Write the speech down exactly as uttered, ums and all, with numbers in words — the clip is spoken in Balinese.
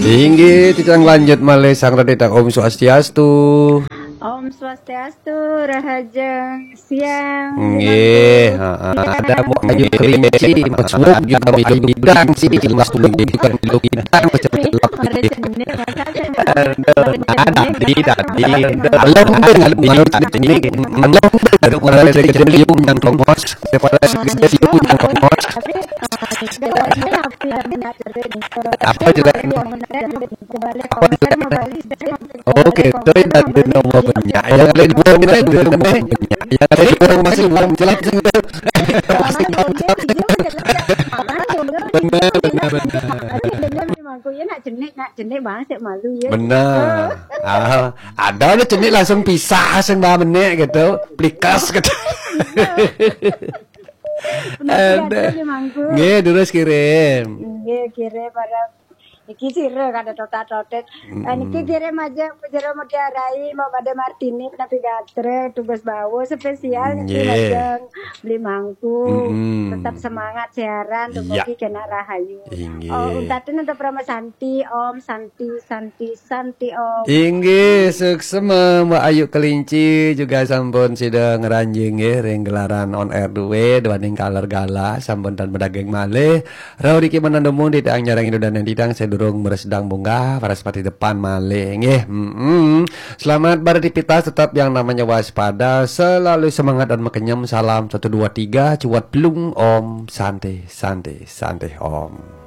Inggih, titiang lanjut malih sareng titiang Om Swastiastu. Om Swastiastu, rahajeng siang. Nggih, heeh. Ada mau ayo kelinci, mesuk juga mau ayo bidang sih, mas tuh juga mau bidang, Pada jenis, masa saya Aduh, ada tadi, tadi. Belum dengar, belum dengar, belum dengar, belum dengar, yang tongos, kepala yang tongos. Tapi eh, sebenarnya apa yang minat cerita itu? Apa jelek? Kebalik Apa konser jelek? mau balik. Oke, itu yang tadi nomor banyak. Yang ada dua minat dua nomor banyak. Yang ada dua masih belum jelas. Benar, benar, benar. Benar, benar, benar. Tapi dia memang aku ya nak jenik, nak jenik banget sih malu ya. Benar. Ah, ada ada jenik langsung pisah sing mbak menek gitu, plikas gitu. Benar Ada. Ada memangku. Nggih, terus kirim. Nggih, kira para iki sira kada totat-totet. Niki kirim aja Jero Mutiarai, Mbak Made Martini, Penapi Gatre, Tugas Bawo spesial niki Nggih. Majeng Beli Mangku. Mm-mm. Tetap semangat siaran, Iya. Tugas kena rahayu. Inggih. Oh, untatin untuk Rama Santi, Om Santi, Santi, Santi, Om. Inggih, suksema Mbak Ayu Kelinci juga sampun sida ngranjing nggih ring gelaran on air duwe duaning kaler gala sampun tan medaging malih. Rauh riki menandumung titiang nyarang Indo dan titiang sedurung meresdang bunga, Waraspati depan malih nggih. Mm-mm. Selamat beraktivitas, tetap yang namanya waspada, selalu semangat dan makenyem. Salam satu dua tiga, cuat pelung, Om Santi, Santi, Santi, Om.